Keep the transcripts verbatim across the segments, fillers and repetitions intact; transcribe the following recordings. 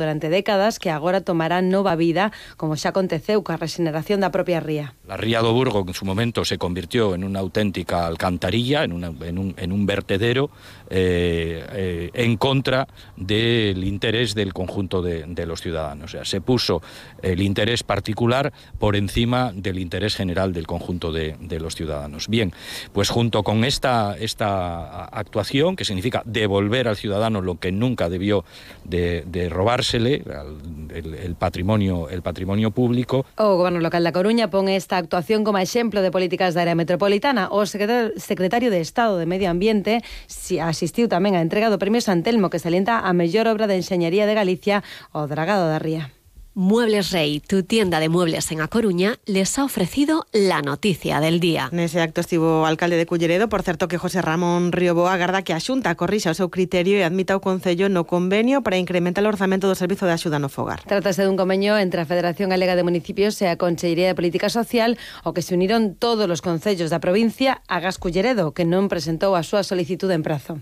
durante décadas que agora tomará nova vida, como xa aconteceu coa rexeneración da propia ría. La ría do Burgo en su momento se convirtió en una auténtica alcantarilla, en, una, en, un, en un vertedero eh, eh, en contra del interés del conjunto de, de los ciudadanos. O sea, se puso el interés particular por encima del interés general del conjunto de, de los ciudadanos. Bien, pues junto con esta, esta actuación, que significa devolver al ciudadano lo que nunca debió de, de robarse, El, el, patrimonio, el patrimonio público. O Goberno local da Coruña pon esta actuación como exemplo de políticas da área metropolitana. O secretario de Estado de Medio Ambiente asistiu tamén á entrega do Premio San Telmo, que salienta a mellor obra de enxeñería de Galicia, o Dragado da Ría. Muebles Rey, tu tienda de muebles en A Coruña, les ha ofrecido la noticia del día. Nese acto estivo o alcalde de Culleredo, por certo que José Ramón Rioboa agarda que a Xunta corrixa o seu criterio e admita o Concello no convenio para incrementar o orzamento do Servizo de Axuda no Fogar. Trátase dun convenio entre a Federación Galega de Municipios e a Consellería de Política Social, ao que se uniron todos os concellos da provincia, agás Culleredo, que non presentou a súa solicitude en prazo.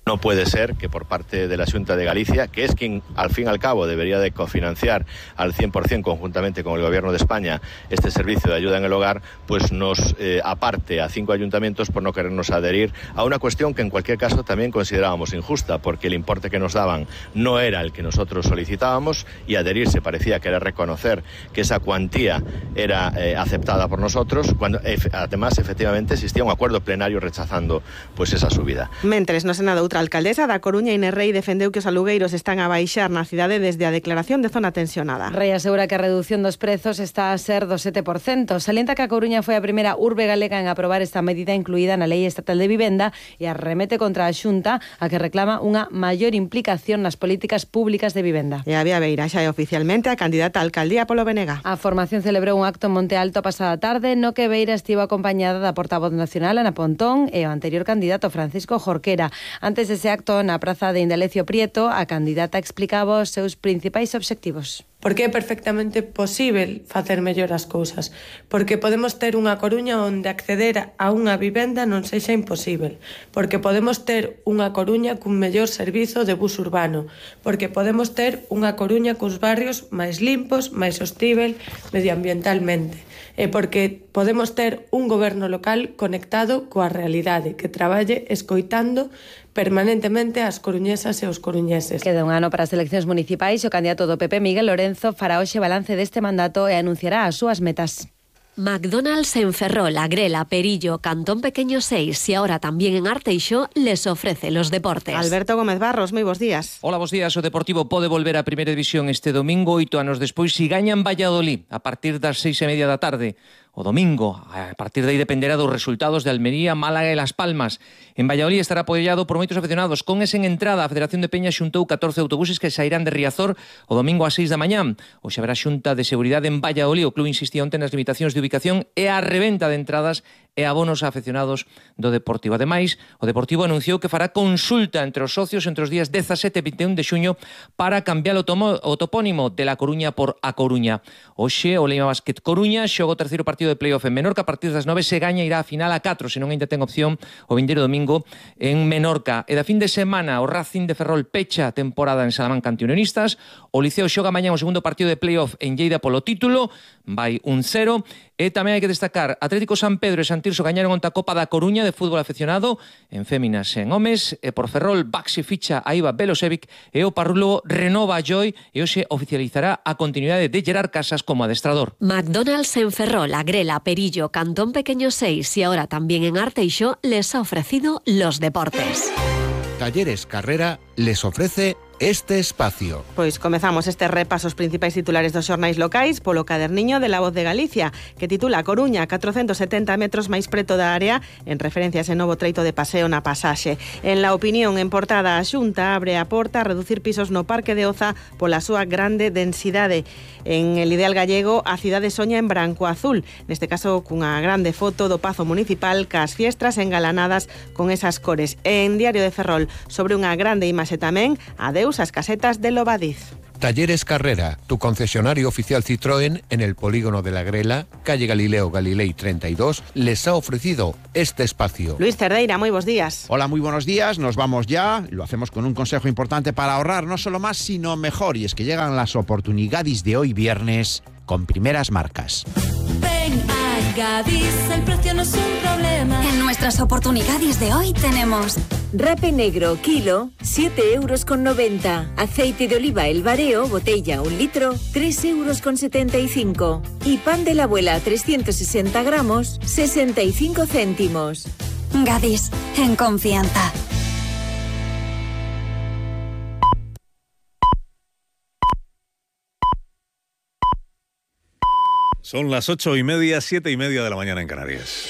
No puede ser que por parte de la Xunta de Galicia, que es quien al fin y al cabo debería de cofinanciar al cien por ciento conjuntamente con el Gobierno de España este servicio de ayuda en el hogar, pues nos eh, aparte a cinco ayuntamientos por no querernos adherir a una cuestión que en cualquier caso también considerábamos injusta, porque el importe que nos daban no era el que nosotros solicitábamos y adherirse parecía que era reconocer que esa cuantía era eh, aceptada por nosotros, cuando ef además efectivamente existía un acuerdo plenario rechazando pues esa subida. Mentres no Senado, outra alcaldesa da Coruña, Inés Rei, defendeu que os alugueiros están a baixar na cidade desde a declaración de zona tensionada. Rei asegura que a reducción dos prezos está a ser do sete por cento. Salienta que a Coruña foi a primeira urbe galega en aprobar esta medida incluída na Lei Estatal de Vivenda e arremete contra a Xunta, a que reclama unha maior implicación nas políticas públicas de vivenda. E a Vía Beira xa é oficialmente a candidata a alcaldía polo B N G. A formación celebrou un acto en Monte Alto a pasada tarde, no que Beira estivo acompañada da portavoz nacional Ana Pontón e o anterior candidato Francisco Jorquera. Antes dese acto, na praza de Indalecio Prieto, a candidata explicaba os seus principais obxectivos. Porque é perfectamente posible facer mellor as cousas. Porque podemos ter unha Coruña onde acceder a unha vivenda non sexa imposible. Porque podemos ter unha Coruña cun mellor servizo de bus urbano. Porque podemos ter unha Coruña cos barrios máis limpos, máis hostível medioambientalmente. E porque podemos ter un goberno local conectado coa realidade, que traballe escoitando permanentemente as coruñesas e os coruñeses. Queda un ano para as eleccións municipais e o candidato do P P, Miguel Lorenzo, fará hoxe balance deste mandato e anunciará as súas metas. McDonald's en Ferrol, Agrela, Perillo, Cantón Pequeño seis y ahora también en Arteixo les ofrece los deportes. Alberto Gómez Barros, moi bos días. Hola, bos días. O Deportivo pode volver a Primeira División este domingo, oito anos despois, si gañan Valladolid a partir das seis e media da tarde. O domingo, a partir de aí dependerá dos resultados de Almería, Málaga e Las Palmas. En Valladolid estará apoiado por moitos aficionados. Con ese en entrada, a Federación de Peña xuntou catorce autobuses que sairán de Riazor o domingo ás seis da mañá. Hoxe haberá xunta de seguridade en Valladolid. O club insistía onte nas limitacións de ubicación e a reventa de entradas e abonos a afeccionados do Deportivo. Ademais, o Deportivo anunciou que fará consulta entre os socios entre os días dezasete e vinte e un de xuño para cambiar o, tomo, o topónimo de La Coruña por A Coruña. Hoxe, o Leima Basket Coruña xoga o terceiro partido de playoff en Menorca. A partir das nove se gaña irá a final a catro, senón ainda ten opción o vindeiro domingo en Menorca. E da fin de semana, o Racing de Ferrol pecha a temporada en Salamanca ante Unionistas. O Liceo xoga mañá o segundo partido de playoff en Lleida polo título, vai un cero. E tamén hai que destacar, Atlético San Pedro e San Tirso gañaron onta Copa da Coruña de fútbol aficionado en féminas e en homes, e por Ferrol Baxi ficha a Iva Belosevic e o Parrulo renova a Joy e hoxe oficializará a continuidade de Gerard Casas como adestrador. McDonald's en Ferrol, Agrela, Perillo, Cantón Pequeño seis y ahora también en Arteixo les ha ofrecido los deportes. Talleres Carrera les ofrece este espacio. Pois comezamos este repaso aos principais titulares dos xornais locais polo caderniño de La Voz de Galicia, que titula Coruña, catrocentos setenta metros máis preto da área, en referencia a ese novo treito de paseo na pasaxe. En La Opinión, en portada, a Xunta abre a porta a reducir pisos no Parque de Oza pola súa grande densidade. En El Ideal Gallego, a cidade soña en branco azul, neste caso cunha grande foto do Pazo Municipal cas fiestras engalanadas con esas cores. En Diario de Ferrol, sobre unha grande imaxe tamén, adeus as casetas de Lobadiz. Talleres Carrera, tu concesionario oficial Citroën en el polígono de La Grela, calle Galileo Galilei treinta y dos, les ha ofrecido este espacio. Luis Cerdeira, muy buenos días. Hola, muy buenos días. Nos vamos ya. Lo hacemos con un consejo importante para ahorrar no solo más, sino mejor. Y es que llegan las oportunidades de hoy viernes con primeras marcas. Ven a Gadis, el precio no es un problema. En nuestras oportunidades de hoy tenemos rape negro, kilo, siete euros con noventa. Aceite de oliva El Bareo, botella, un litro, tres euros con setenta y cinco. Y pan de la abuela, trescientos sesenta gramos, sesenta y cinco céntimos. Gadis, en confianza. Son las ocho y media, siete y media de la mañana en Canarias.